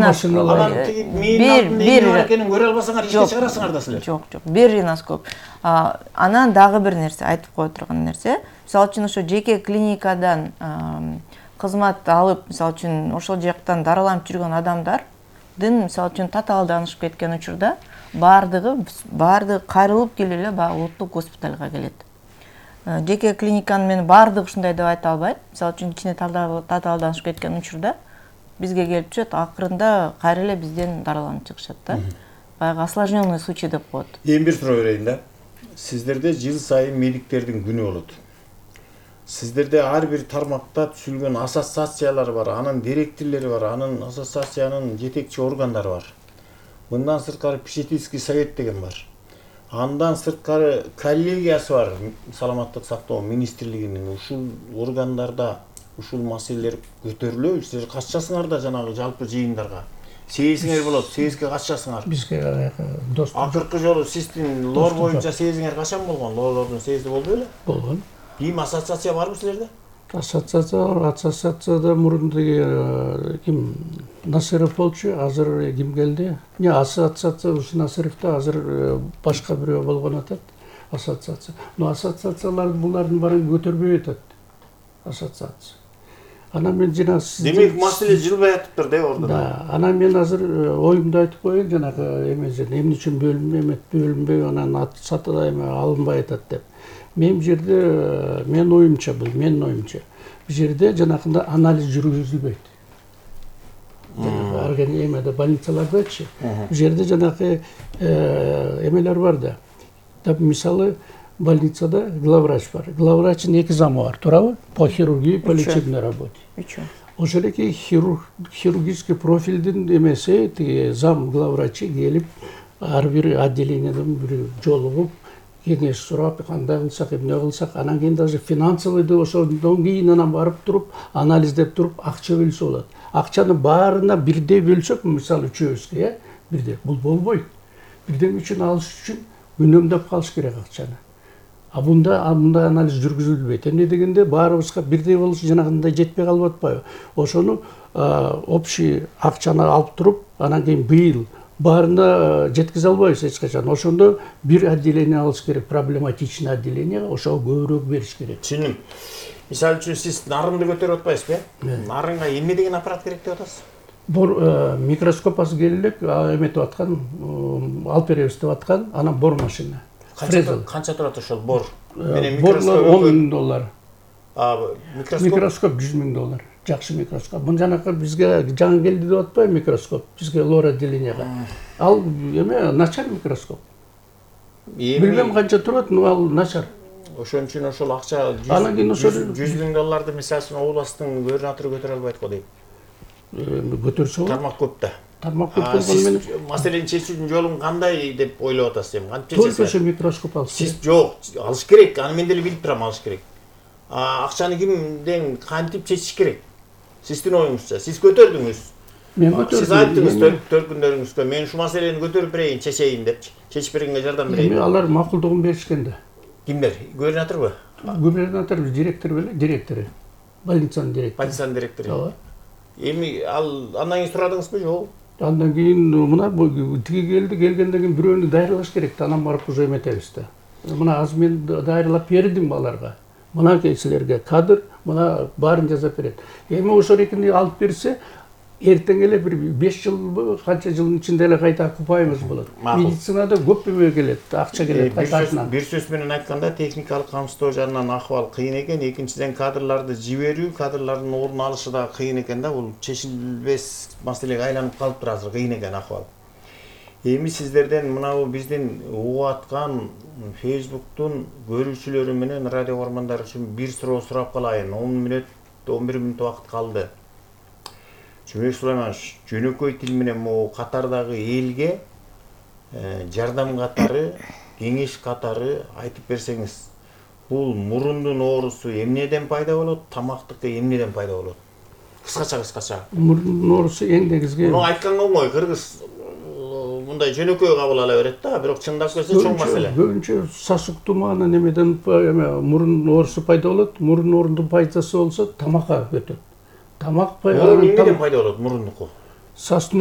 машиналар бир экенин көрө албасаңар ишке чыгарасыңар да силер. Жок, бир риноскоп. Анан дагы бир нерсе айтып кое турган нерсе, мисалы үчүн ошо жеке клиникадан кызмат алып, мисалы үчүн ошол жактан дараланып жүргөн адамдардын мисалы үчүн татаалданышып кеткен учурда баардыгы кайрылып келип эле баягы улуттук госпиталга келет. Жеке клиниканын мен баардыгы ушундай деп айта албайм. Мисалы үчүн кичине татаалданышып кеткен учурда бизге келип түшөт, акырында кайра эле бизден дараланып чыгышат да. Баягы осложненный случай деп коет. Эми бир суроо берейин да. Сиздерде жыл сайын медиктердин күнү болот. Сиздерде ар бир тармакта түзүлгөн ассоциациялар бар, анын директорлори бар, анын ассоциациянын жетекчи органдары бар. Мындан сырткары попечительский совет деген бар. Андан сырткары коллегиясы бар, саламаттык сактоо министрлигинин. Ушул органдарда ушул маселелер көтөрүлөбү? Силер катышасыңар да жанагы жалпы жыйындарга. Сезиңер болот, сезге катышасыңар. Бизге достук. Акыркы жолу сиздин лор боюнча сезиңер качан болгон? Лорлордун сезди болду беле? Болгон. Ким ассоциация барбы силерде? Ассоциацияда мурун ким Насыров болчу, азыр ким келди? Ассоциация ушу Насыровду азыр башка бирөө болгон атат. Ассоциация. Но ассоциациялар булардын баарын көтөрбөй атат. Ассоциация. Анан мен жана демек маселе жылбай атыптыр да ордун. Да, анан мен азыр оюмду айтып коеюн, жанагы эмне үчүн бөлүнбөй анан ат сатыда алынбай атат деп. Мен жерде менин оюмча бул жерде жанакында анализ жүргүзүлбөйт. Арген эмеде больницалардачы. Бул жерде жанакы эмелер бар да. Мисалы больницада главврач бар. Главврачтын 2 замы бар, туурабы? По хирургии, по лечебной работе. Ошол эки хирургический профилдин эмеси, тиги зам главврачы келип, ар бир отделениеден бир жолугуп, кеңеш сурап, кандай кылсак, эмне кылсак, анан кийин даже финансовыйды ошондон кийин анан барып туруп, анализдеп туруп, акча бөлсө болот. Акчаны баарына бирдей бөлсөк, мисалы үчөөбүзгө, бирдей, бул болбойт. Бирден үчүн алыш үчүн үнөмдөп калыш керек акчаны. Мындай анализ жүргүзүлбөйт. Эмне дегенде баарыбызга бирдей болуш жанагындай жетпей калып атпайбы? Ошону общий акчаны алып туруп, анан кийин быйыл баарына жеткизе албайбыз эч качан. Ошондо бир отделение алыш керек, проблематичный отделение, ошого көбүрөөк бериш керек. Түшүндүм. Мисалы үчүн сиз нарынды көтөрүп атпайсызбы? Нарынга эмне деген аппарат керек деп атасыз? Бор микроскоп азыр келип эметип аткан, алып беребиз деп аткан, анан бор машина. Канча турат ошол бор? Борлор $10,000. Микроскоп $100,000. Жакшы микроскоп. Бул жанакы бизге жаңы келди деп атпайбы микроскоп? Бизге лор отделенияга. Ал эме начар микроскоп. Билбем канча турат, но ал начар. Ошон үчүн ошол акча $100,000 мисалы үчүн областтын губернатору көтөрө албайт го дейм. Көтөрсө болот. Тармак көп да. Тармак көп болгону менен маселени чечүүнүн жолун кандай деп ойлоп атасыз эми? Кантип чечесиз? Только ошо микроскоп алыш. Сиз жок, алыш керек. Аны мен деле билип турам, алыш керек. Акчаны кимден кантип чечиш керек? Сиздин оюңузча, сиз көтөрдүңүз. Мен көтөрдүм. Сиз айттыңыз төркүндөрүңүзгө, мен ушу маселени көтөрүп берейин, чечейин деп. Чечип бергенге жардам берейин. Алар макулдугун беришкен да. Кимдер? Губернаторбу? Губернатор, директор беле, директору. Больницанын директору. Больницанын директору. Ооба. Эми андан кийин сурадыңызбы, жок? Андан кийин мына тиги келгенден кийин бирөөнү дайырлаш керек да, анан барып уже эметебиз да. Мына азыр мен дайырлап бердим аларга. Мына силерге кадр, мына баарын жазап берет. Эми ошол экини алып берсе, эртең эле бир 5 жыл, канча жылдын ичинде эле кайта окупайбыз болот. Медицинада көп эме келет, акча келет кайтасынан. Бир сөз менен айтканда, техникалык камсыздоо жагынан акыбал кыйын экен, экинчиден кадрларды жиберүү, кадрлардын ордун алышы да кыйын экен да, бул чечилбес маселеге айланып калыптыр азыр, кыйын экен акыбал. Эми сиздерден мынабу биздин угуп аткан Facebooktун көрүүчүлөрү менен радио көрөрмандары үчүн бир суроо сурап калайын. 11 мүнөт убакыт калды. Жумек Сулайманович, жөнөкөй тил менен могу катардагы элге жардам катары, кеңеш катары айтып берсеңиз, бул мурундун оорусу эмнеден пайда болот, тамактыкы эмнеден пайда болот? Кыскача. Мурундун оорусу эң негизги. Муну айтканга оңой, кыргыз мындай жөнөкөй кабыл ала берет да, бирок чындап келсе чоң маселе. Көбүнчө сасык туманы немеден мурун оорусу пайда болот. Мурун оорунун пайдасы болсо тамакка өтөт. Тамак эмнеден пайда болот мурундуку?